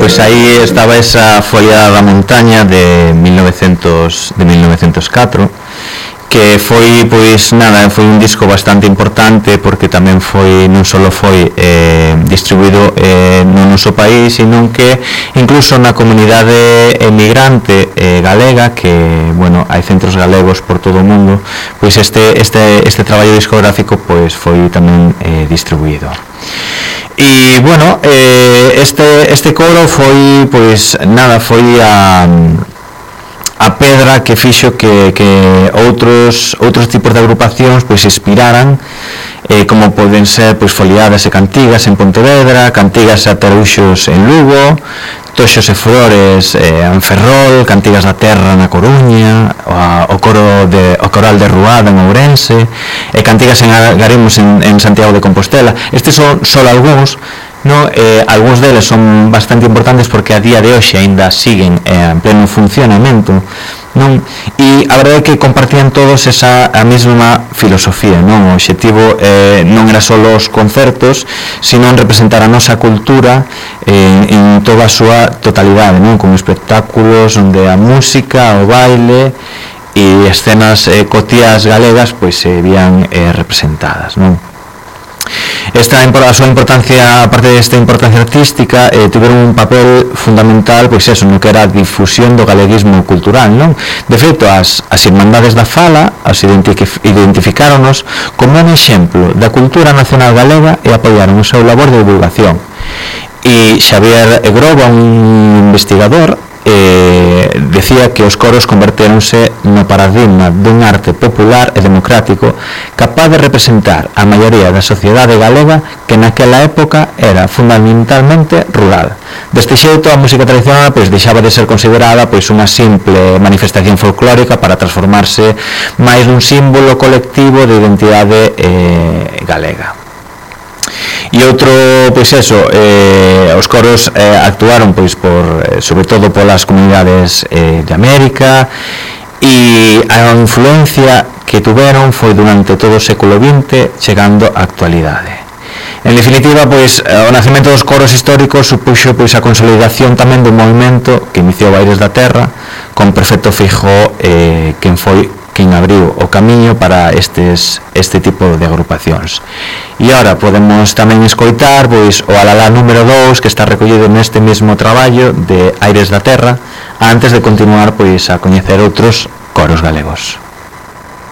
pois aí estaba esa Foliada da Montaña de 1904, que foi, pois nada, foi un disco bastante importante porque tamén foi, non só foi distribuído no noso país, sino que incluso na comunidade emigrante galega, que, bueno, hai centros galegos por todo o mundo, pois este traballo discográfico pois foi tamén distribuído. E, bueno, este coro foi, pois, nada, foi a pedra que fixo que outros tipos de agrupacións pois inspiraran, como poden ser pois Foliadas e Cantigas en Pontevedra, Cantigas e Ataruxos en Lugo, Toxos e Flores en Ferrol, Cantigas da Terra na Coruña, o Coral de Ruada en Ourense, e Cantigas en Agaremos en Santiago de Compostela. Estes son só algúns, no, algúns deles son bastante importantes porque a día de hoxe aínda siguen en pleno funcionamento, non? E a verdade é que compartían todos a mesma filosofía, non? O obxectivo non era só os concertos, sino en representar a nosa cultura en toda a súa totalidade, non? Con espectáculos onde a música, o baile e escenas cotiás galegas pois se vían representadas, non? A súa importancia, aparte desta importancia artística, tiveron un papel fundamental, pois eso, no que era a difusión do galeguismo cultural, non? De feito, as Irmandades da Fala as identificáronos como un exemplo da cultura nacional galega e apoiaron o seu labor de divulgación. E Xavier Groba, un investigador, decía que os coros convertéronse no paradigma dun arte popular e democrático capaz de representar a maioría da sociedade galega que naquela época era fundamentalmente rural. Deste xeito, a música tradicional pois deixaba de ser considerada pois unha simple manifestación folclórica para transformarse máis nun símbolo colectivo de identidade galega. E outro, pois eso, os coros actuaron pois sobre todo polas comunidades de América, e a influencia que tuveron foi durante todo o século XX chegando á actualidade. En definitiva, pois o nacemento dos coros históricos supuxo pois a consolidación tamén dun movimento que iniciou Aires da Terra, con Perfecto Feijóo quen abriu o camiño para este tipo de agrupacións. E agora podemos tamén escoitar pois o Alalá número 2, que está recollido neste mesmo traballo de Aires da Terra, antes de continuar pois a coñecer outros coros galegos.